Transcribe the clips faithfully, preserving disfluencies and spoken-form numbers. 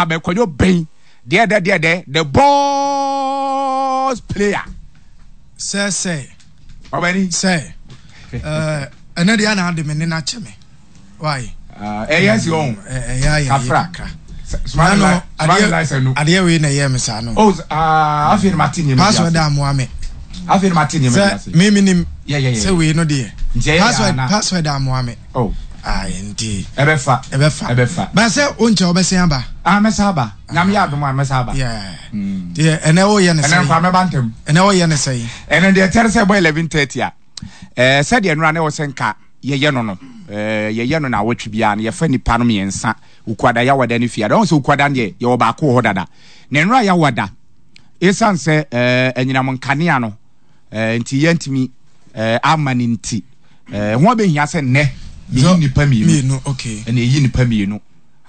Abɛkɔdwo bɛn deɛ dɛ deɛ dɛ the boss player. Sɛ sɛ. Ɔbɛni. Sɛ ɛɛ ɛnɛ deɛ ana ade me ne n'akyɛ me why. Ɛyɛ si ɔn. Ɛyɛ ayɛ Kafra. kakra. Smart adeɛ no. Adeɛ wei na ɛyɛ me saa no. Oh, ah, afei na ma ti nneɛma bi ase. Password amoa me. Afei na ma ti nneɛma bi ase. Sɛ mi mi nim. Yeah, yeah, yeah. Sɛ wei no deɛ. Nti ɛyɛ Password ana. Password amoa me. Oh. Ayi, nti. Ɛbɛfa. Ɛbɛfa. Ɛbɛfa. Ba sɛ o nkyɛn ɔbɛsɛn aba. Ah, mɛsa aba. Nyame yɛ adom a, mɛsa aba. Yeah. Deɛ ɛnɛ o yɛ ne Ɛnɛ sɛ. nkwa mɛba ntɛm. Ɛnɛ o yɛ ne sɛ. Ɛnɛ deɛ kyɛrɛ sɛ ɛbɔ eleven thirty a, ɛɛ sɛdeɛ nnora ne wɔ sɛ nka yɛyɛ no no ɛɛ yɛyɛ no na awɔtwe biara no, yɛfa nipa no mmiɛnsa, Okuada, Yawada ne Fiada. Ɔn sɛ Okuada no deɛ, yɛwɔ baako wɔ hɔ dada. Na nnora Yawada, esan sɛ ɛɛ anyinam nkanea no ɛɛ nti yɛntumi ɛɛ ama ne nti, ɛɛ ho abɛhia sɛ nnɛ yɛyi nipa mmienu. Mmienu, okay. Ɛna yɛyi nipa mmienu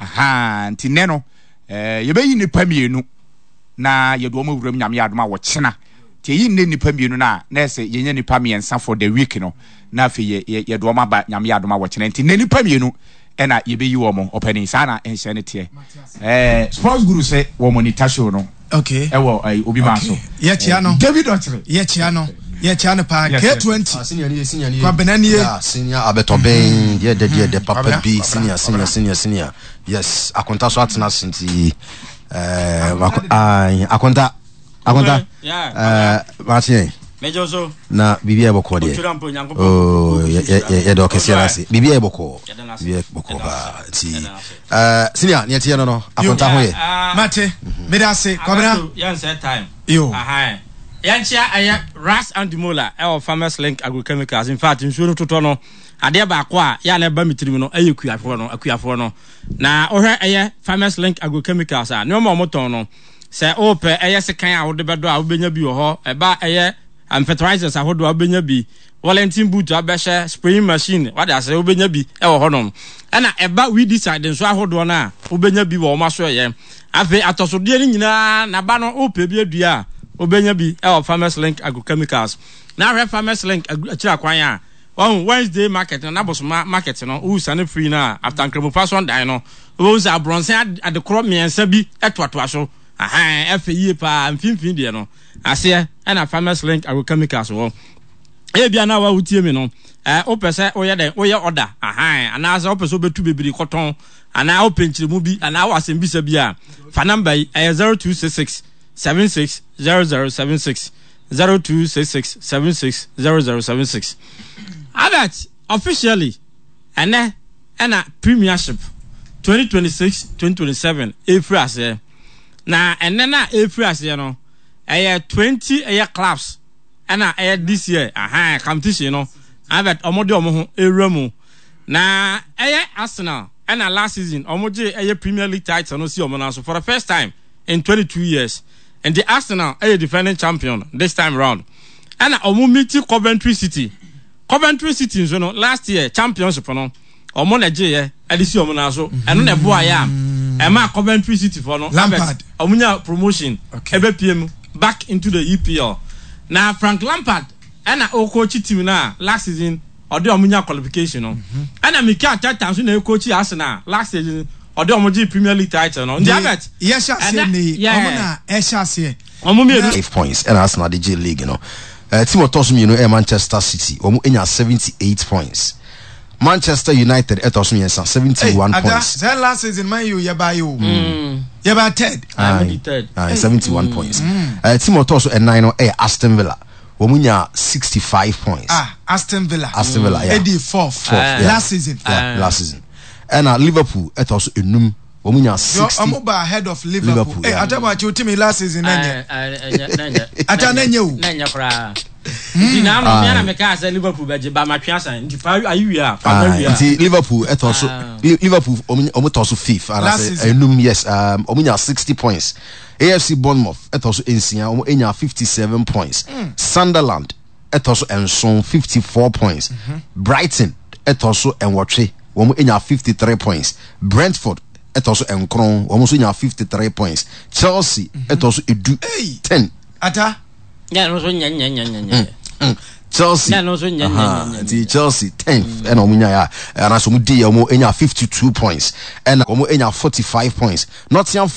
aha. Nti nnɛ no ɛɛ yɛbɛyi nipa mmienu na yɛde wɔn awuram, Nyame yɛ adom a, wɔkyena. Nti yɛyi nnɛ nipa mmienu no a, na ɛsɛ yɛnya nipa mmiɛnsa for the week no, na afei yɛ yɛ yɛde wɔn aba, Nyame yɛ adom a, wɔkyena. Nti nnɛ nipa mmienu ɛna yɛbɛyi wɔn. Ɔpanin, saa na nhyɛ no teɛ. ɛɛ sports guru sɛ wɔ monitor show no Okay. ɛwɔ ɛɛ obi maa so. Yɛkyia no. David Ɔkyerɛ. Yɛkyia no. Yɛkyia no paa. Yes, yes. K twenty. Ah, senior ni, senior ni. Kwabena nie. Yeah, senior abɛtɔbɛn deɛ dɛ deɛ dɛ papa Kwabena, bi. Kwabena, Senior, senior, Kwabena. Senior, senior, yes. Akonta so atena ase nti ɛɛ mako- ai, akonta, akonta. Yeah. ɛɛ maakye. Mɛjọ so. Na biribi a ɛbɔkɔ deɛ. Otwera mpo Nyankopɔn. Oh, yɛ- yɛ- yɛ- yɛda ɔkɛseɛ no ase. Biribi a ɛbɔkɔ. Yɛda no ase. Biribi a ɛbɔkɔ Yɛda no paa ase. nti Yɛda no ase. ɛɛ senior neɛ teɛ no no akonta ho yɛ. Mate. Mede ase. Kwabena. Yɛnsɛ time. Yo. Ahan. Yɛnkyia ɛyɛ Ras Andimola ɛwɔ Farmers Link Agrochemicals. In fact, nsuo no totɔ no, adeɛ baako a yɛ a na ɛba mi tirim no ɛyɛ kuafoɔ no, akuafoɔ no. Na wohwɛ ɛyɛ Farmers Link Agrochemicals a, nneɛma a wɔtɔn no, sɛ wopɛ ɛyɛ sekan a wode bɛdɔ a, wobɛnya bi wɔ hɔ. Ɛba ɛyɛ um, fertilizers ahodoɔ a, wobɛnya bi. Wellington boot abɛhyɛ, spraying machine wade ase, wobɛnya bi ɛwɔ hɔnom. Ɛna ɛba weedicide nso ahodoɔ no a, wobɛnya bi wɔ wɔn aso. Ɛyɛ afei atɔsodeɛ no nyinaa naba no, wopɛ bi adua a, wobɛnya bi ɛwɔ Farmers Link Agrochemicals. Na ahwɛ Farmers Link akyiri akwan a wɔn Wednesday market no, nabosoma market no, wosane firi no a, after Nkramofa so dan no, wobɛhu sɛ aborɔnsen adekorɔ mmiɛnsa bi ɛtoatoa so ahan, ɛfɛ yie paa. Mfimfini deɛ no aseɛ ɛna Farmers Link Agrochemicals wɔ. Ebia na wa wotie mi no, ɛɛ wopɛ sɛ woyɛ dɛ woyɛ ɔda ahan, anaasɛ wopɛ sɛ wobɛtu bebree kɔtɔn, anaa wopɛ nkyerɛmu bi, anaa wɔ asɛmbisa bi a, fa number yi, ɛyɛ zero two six six seven six zero zero seven six, zero two six six seven six zero zero seven six. Albert, officially ɛnɛ ɛna Premiership twenty twenty-six twenty twenty-seven efiri aseɛ. Na ɛnɛ na efiri aseɛ no, ɛyɛ twenty ɛyɛ clubs ɛna ɛyɛ this year ahan competition no. Albert, ɔmo de ɔmo ho ewura mu na ɛyɛ Arsenal ɛna last season ɔmo gye ɛyɛ Premier League title no si ɔmo nan so for the first time in twenty two years. Nti Arsenal ɛyɛ defending champion this time round. Ɛna ɔmo meet Coventry City. Coventry City nso no, last year championship no, ɔmo na gye yɛ ɛde si ɔmo nan so. Ɛno na ɛboa yɛ a ɛma Coventry City fɔ no, Lampard, ɔmo nya promotion Okay. ɛbɛ pie mu back into the E P L. Na Frank Lampard ɛna ɔkɔɔkyi team no a last season ɔde ɔmo nya qualification no. Ɛna Mikel Arteta nso na ɛkɔɔkyi Arsenal last season ɔde ɔmo gye Premier League title no. Nti Albert, yɛhyɛ aseɛ ɛnɛ- ne yi yeah. ɔmo na ɛhyɛ aseɛ. Ɔmo mmienu. Five points ɛna Arsenal de gye league no. uh, team ɔtɔ so mmienu ɛyɛ Manchester City, wɔn anya seventy eight points. Manchester United ɛtɔ so mmiɛnsa, seventy one Ada points. Sɛ last season Man U yɛ ba yi o, yɛ ba third. Ah, mo di third. Aye, seventy one points. uh, team ɔtɔ so ɛnan no ɛyɛ Aston Villa, wɔn nya sixty five points. Ah, Aston Villa. Aston Villa, yeah. Edi fourth. Fourth, yeah. Last season. Yeah, last season. Ɛna Liverpool ɛtɔ so enum, wɔn nya sixty. Ɔmo ba ahead of Liverpool. Liverpool, Eh, yeah. Atamu akyi o team last season n'ɛnyɛ. Ɛnyɛ. Ata n'ɛnyɛ o. N'ɛnyɛ koraa. Nti na ano mi ana meka sɛ Liverpool bɛgye ba matwe asan nti fa ayi wie a fa ma Ah, wie a. Nti Liverpool ɛtɔ so Ah. Li- Liverpool ɔmo ɔmo tɔ so fifth Last anaasɛ season. enum, yes. um, ɔmo nya sixty points. A F C Bournemouth ɛtɔ so nsia, ɔmo nya fifty seven points. Sunderland ɛtɔ so nson, fifty four points. Brighton ɛtɔ so nwɔtwe, wɔn nya fifty three points. Brentford ɛtɔ so nkron, wɔn nso nya fifty three points. Chelsea ɛtɔ so edu, Hey. ten. Ata. Nyɛ no nso nyɛ nyɛ nyɛ nyɛ nyɛ. Mm. Chelsea. Nyɛ no nso nyɛ nyɛ Aha, nyɛ nyɛ. Nti Chelsea tenth ɛna wɔn nya yɛ a anaasɛ wɔn di yɛ, wɔn nya fifty two points, ɛna wɔn nya forty five points. Nottingham